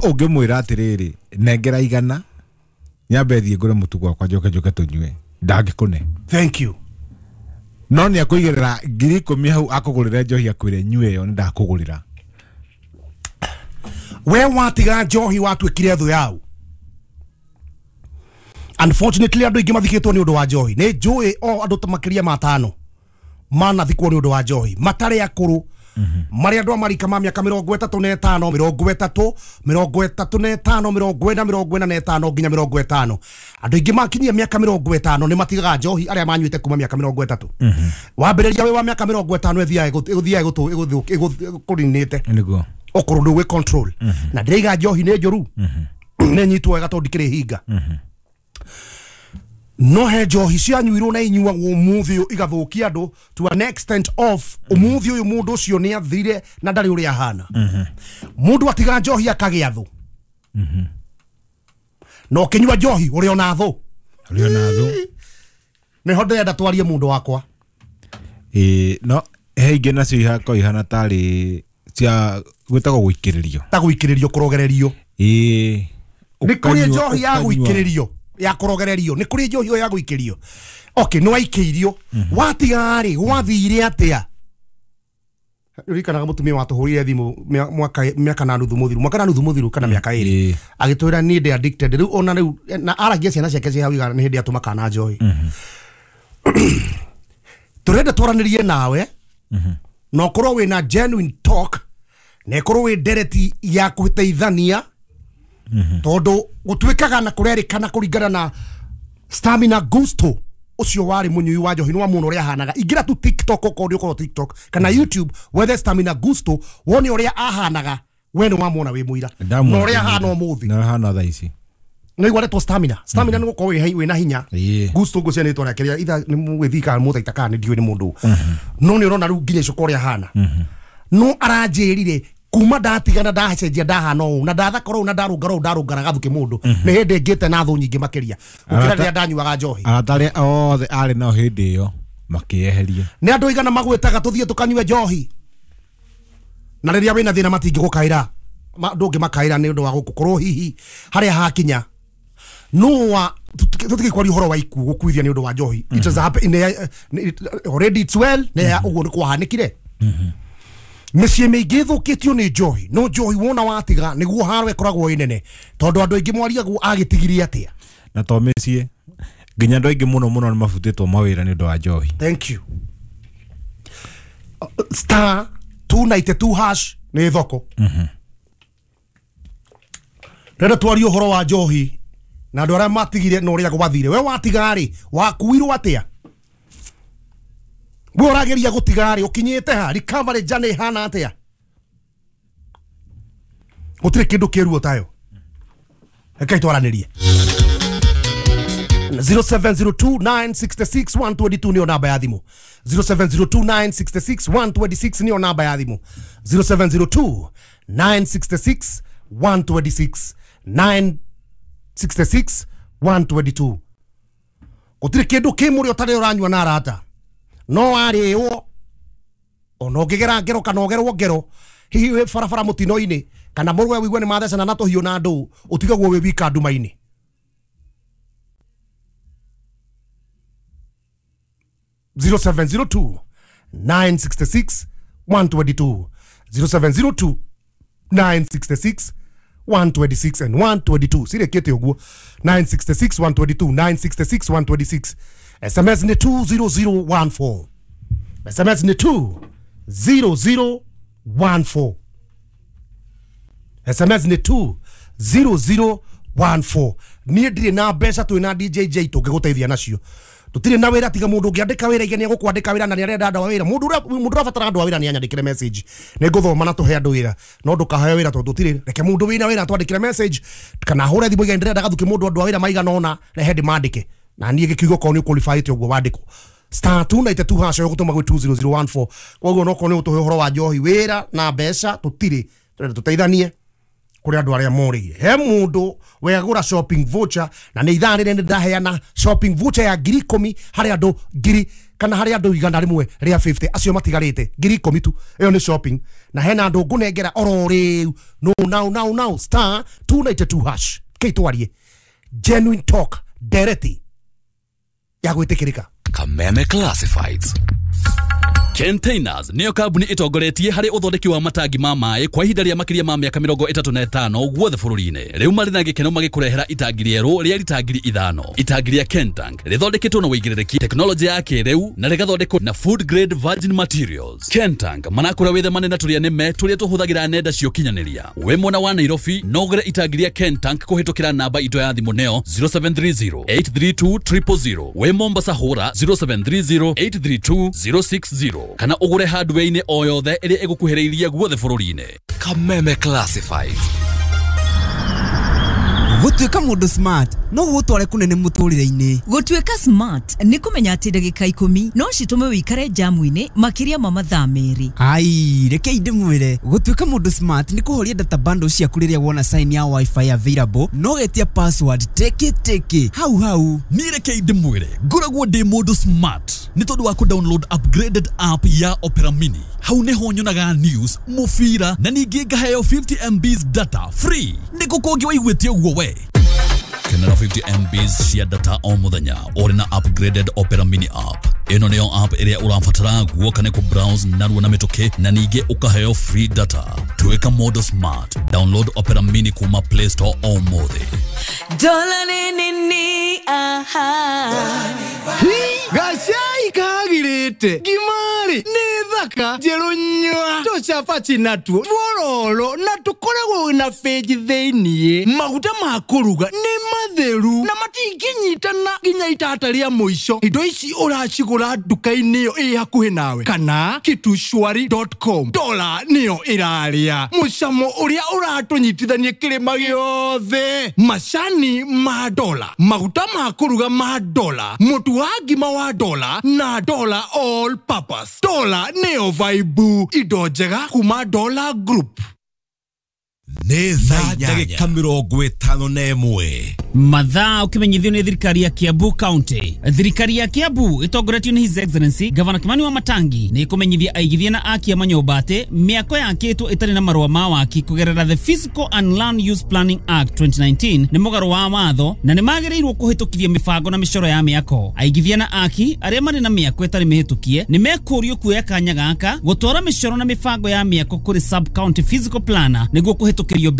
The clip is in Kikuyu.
Ũngĩmwĩra atĩrĩrĩ, nengera 100 nyambe thiĩ ngũre mũtu gwakwa njoke njoke tũnyue, ndangĩkũne. Thank you. No nĩ akũigĩrĩra 10,000 hau akũgũrĩre njohi akwĩre nyue ĩyo nĩ ndakũgũrĩra. We watiga njohi watuĩkire thũ yau. Unfortunately andũ aingĩ mathikĩtwo nĩ ũndũ wa njohi. Nĩ njũĩ o andũ ta makĩria ma 5 manathikwo nĩ ũndũ wa njohi matarĩ akũrũ, marĩa andũ a marika ma mĩaka 35, 30, 35, 40, 45 nginya 50. Andũ aingĩ makinyia mĩaka 50 nĩ matigaga njohi arĩa manyuĩte kuma mĩaka 30. Wambĩrĩria wĩ wa mĩaka 50 ĩthiaga kũrinĩte. Nĩguo. Okorwo ndũgwĩ control. Na ndĩraiga njohi nĩ njũru. Nĩ nyitwo wega tondũ ndikĩrĩ hinga. No he njohi cianyuirwo na inyuagwo ũmũthĩ ũyũ igathũkia andũ to an extent of ũmũthĩ ũyũ mũndũ ũcio nĩ athire na ndarĩ ũrĩa ahana. Mũndũ atiga njohi akagĩa thũ. Na ũkĩnyua njohi ũrĩ ona thũ. Ũrĩ ona thũ. Nĩho ndĩrenda twarie mũndũ wakwa. Ĩĩ, no he ingĩ nacio ihakorwo ihana tarĩ cia gwĩtagwo gũikĩrĩrio. Ta gũikĩrĩrio, kũrogererio. Ĩĩ. Nĩ kũrĩ njohi ya Ũkanyua. gũikĩrĩrio, ya kũrogererio. Nĩ kũrĩ njohi ya gũikĩrio. Okay, nĩ waikĩirio. Watiga rĩ, gwathire atĩa? Ririkanaga mũtumia watũhũrire thimũ mwaka mĩaka na nuthu mũthiru, mwaka na nuthu mũthiru kana mĩaka ĩrĩ. Agĩtwĩra niĩ ndĩ addicted. Rĩu ona rĩu na aragia ciana ciake ciĩ hau igana nĩ hĩndĩ atũma kana njohi. Tũrenda twaranĩrie nawe. Na ũkorwo wĩna genuine talk, na ĩkorwo wĩ ndereti ya gũteithania. Tondũ gũtuĩkaga na kũrerĩkana kũringana na Stamina Gusto ũcio warĩ mũnyui wa njohi nĩ wa mũno ũrĩa ahanaga. Ingĩra tu TikTok okorwo nĩ ũkorwo TikTok kana YouTube wethe Stamina Gusto wone ũrĩa ahanaga, we nĩ wamwona wĩ mũira. Na ũrĩa ahana ũmũthĩ. Na ahana thaa ici. Nĩ igua retwo Stamina. Stamina nĩ gũkorwo wĩna hinya. Gusto ngũcia nĩ rĩtwa rĩake rĩa itha nĩ mũgĩthii kana mũthaita kana nĩ ndiũĩ nĩ mũndũ. No nĩ ũrona rĩu nginya icoka ũrĩa ahana. No aranjĩrire kuma ndatigana ndacenjia ndahana ũũ na ndathakora ũũ na ndarũngara ũũ ndarũngara gathukĩ mũndũ. Nĩ hĩndĩ ngĩte na thũ nyingĩ makĩria gũkĩra rĩrĩa ndanyuaga njohi. Arata arĩa othe arĩ nao hĩndĩ ĩyo makĩeheria. Nĩ andũ aigana magwĩtaga tũthiĩ tũkanyue njohi. Na rĩrĩa wĩna thĩna matingĩgũkaĩra. Ndũngĩmakaĩra nĩ ũndũ wa gũkũ hihi harĩa hakinya. No wa tũtigĩkwaria ũhoro wa ikuũ gũkuithia nĩ ũndũ wa njohi. It has happened in already it's well nĩ ũguo nĩ kwahanĩkire. Mĩciĩ mĩingĩ ĩthũkĩtio nĩ njohi. No njohi wona watiga nĩguo haro ĩkoragwo ĩ nene. Tondũ andũ aingĩ mwariagwo agĩtigirie atĩa. Na to mĩciĩ nginya andũ aingĩ mũno mũno nĩ mabutĩtwo mawĩra nĩ ũndũ wa njohi. Thank you. Star 292 hash nĩ thoko. Rĩrĩa twaria ũhoro wa njohi na andũ arĩa matigire na ũrĩa gwathire. We watiga rĩ, wakuirwo atĩa? We ũrageria gũtiga rĩ, ũkinyĩte ha? Recovery journey ĩhana atĩa? Gũtirĩ kĩndũ kĩruo tayo. Rekei twaranĩrie. 0702 966 122 nĩyo namba ya thimũ. 0702 966 126 nĩyo namba ya thimũ. 0702 966 126 966 122. Gũtirĩ kĩndũ kĩ mũrĩo ũtarĩ ũranyua na arata. No arĩo ona ũngĩgera ngero kana ũgerwo ngero hihi wĩ barabara mũtino-inĩ kana mũrũwe wĩigue nĩ mathecana na tũhiũ na ndũũ ũtigagwo wĩ wika nduma-inĩ. 0702 966 122 0702 966 126 and 122. Sirekete ũguo. 966 122 966 126. SMS ni 20014. SMS ni 20014. SMS ni 20014. Niĩ ndirĩ na mbeca twĩ na DJ J tũngĩgũteithia nacio. Tũtirĩ na wĩra tiga mũndũ ũngĩandĩka wĩra ige nĩegũkwandĩka wĩra na nĩarenda andũ a wĩra. Mũndũ ũrabatara andũ a wĩra nĩanyandĩkĩre message. Nĩngũthoma na tũhe andũ wĩra. No ndũkaheo wĩra tondũ tũtirĩ. Reke mũndũ wĩna wĩra atwandĩkĩre message kana ahũre thimũ ige ndĩrenda gathukĩ mũndũ andũ a wĩra maigana ũna rehe ndĩmandĩke. Na niĩ gĩkiugo korwo nĩ ũqualifyĩte ũguo wandĩkwo. Star 292 hash ũgũtũma gwĩ 20014. Koguo no korwo nĩ ũtũhe ũhoro wa njohi wĩra na mbeca tũtirĩ. Tũrenda tũteithanie. Kuri andu aria morĩire he mundu wegura shopping voucher na nĩ ithaa rĩrĩ ndaheana shopping voucher ya 10,000 harĩ andũ 1,000 kana harĩ andũ 150 acio matigarĩte 10,000 tu. Ĩyo nĩ shopping na hena andũ ngũnengera oro rĩu no now now now star 292 hash kĩitwarie genuine talk dereti ya gwĩtĩkĩrĩka. Kameme Classifieds. Containers niyo kambuni itongoretie harĩ ũthondeki wa matangi ma maĩ kwa ihinda rĩa makĩria ma mĩaka 35 guothe bũrũri-inĩ. Rĩu marĩ na gĩkeno magĩkũrehera itangi rĩerũ rĩa rita 5,000. Itangi rĩa Kentank rĩthondeketwo na ũigĩrĩrĩki, tekinoronjĩ ya kĩrĩu na rĩgathondekwo na food grade virgin materials. Kentank marakũra wĩthemane na tũrĩa nĩme tũrĩa tũhũthagĩra nenda cia ũkinyanĩria. Wĩ mwena wa Nairobi no ũgũre itangi rĩa Kentank kũhĩtũkĩra namba itũ ya thimũ nĩyo 0730 832 000. Wĩ Mombasa hũra 0730 832 060 kana ũgũre hardware-inĩ o yothe ĩrĩa ĩgũkuhĩrĩirie guothe bũrũri-inĩ. Kameme Classifieds. Gũtuĩka mũndũ smart no gũgũtware kũnene mũtũrĩre-inĩ. Gũtuĩka smart nĩ kũmenya atĩ ndagĩka 10 no citũme wĩikare jamu-inĩ makĩria ma mathaa 2. Ai, rekei ndĩmwĩre, gũtuĩka mũndũ smart nĩ kũhoria data bundle ciaku rĩrĩa wona sign ya wifi available no getia password teke teke hau hau. Niĩ rekei ndĩmwĩre, ngoragwo ndĩ mũndũ smart nĩ tondũ wa kũ-download upgraded app ya Opera Mini. Hau nĩho nyonaga news, mũbira na ningĩ ngaheo 50 MBs data free. Nĩ kũ kũngĩ waiguĩte ũguo we? Kenera 50 MBs cia data o mũthenya ũrĩ na upgraded Opera Mini app. Ĩno nĩyo app ĩrĩa ũrabatara guoka nĩ kũ-browse narua na mĩtũkĩ na ningĩ ũkaheo free data. Tuĩka mũndũ smart. Download Opera Mini kuma Play Store o mũthĩ. Dola nini aha. Gacai kagirĩte ngimari nĩ thaka njerũ nyua tũcabaci natuo tuororo na tũkoragwo na benji thĩiniĩ. Maguta ma kũruga nĩ matheru na matingĩnyitana nginya itata rĩa mũico. Indo ici ũracigũra nduka-inĩ ĩyo ĩ hakuhĩ nawe kana kitushwari.com. Dola nĩyo ĩrarĩa mũcamo ũrĩa ũratũnyitithania kĩrĩma gĩothe. Macani ma dola, maguta ma kũruga ma dola, mũtu wa ngima wa dola na dola all purpose. Dola nĩyo vibe, indo njega kuma Dola Group. Nĩ thaa ndagĩka 51. Mathaa ũkĩmenyithio nĩ thirikari ya Kiambu County. Thirikari ya Kiambu ĩtongoretio nĩ His Excellency Governor Kimani wa Matangi nĩ ĩkũmenyithia aigithia na akia manyũmba atĩ mĩako yakĩtwo ĩtarĩ na marũa ma waki kũgerera the Physical and Land Use Planning Act 2019 nĩ mũgarũ wa watho na nĩ magĩrĩirwo kũhĩtũkithia mĩbango na mĩcoro ya mĩako. Aigithia na aki arĩa marĩ na mĩako ĩtarĩ mĩhĩtũkie nĩ mekũrio kuoya kanya gaka gũtwara mĩcoro na mĩbango ya mĩako kũrĩ sub county physical planner nĩguo kũhĩtũkĩrio.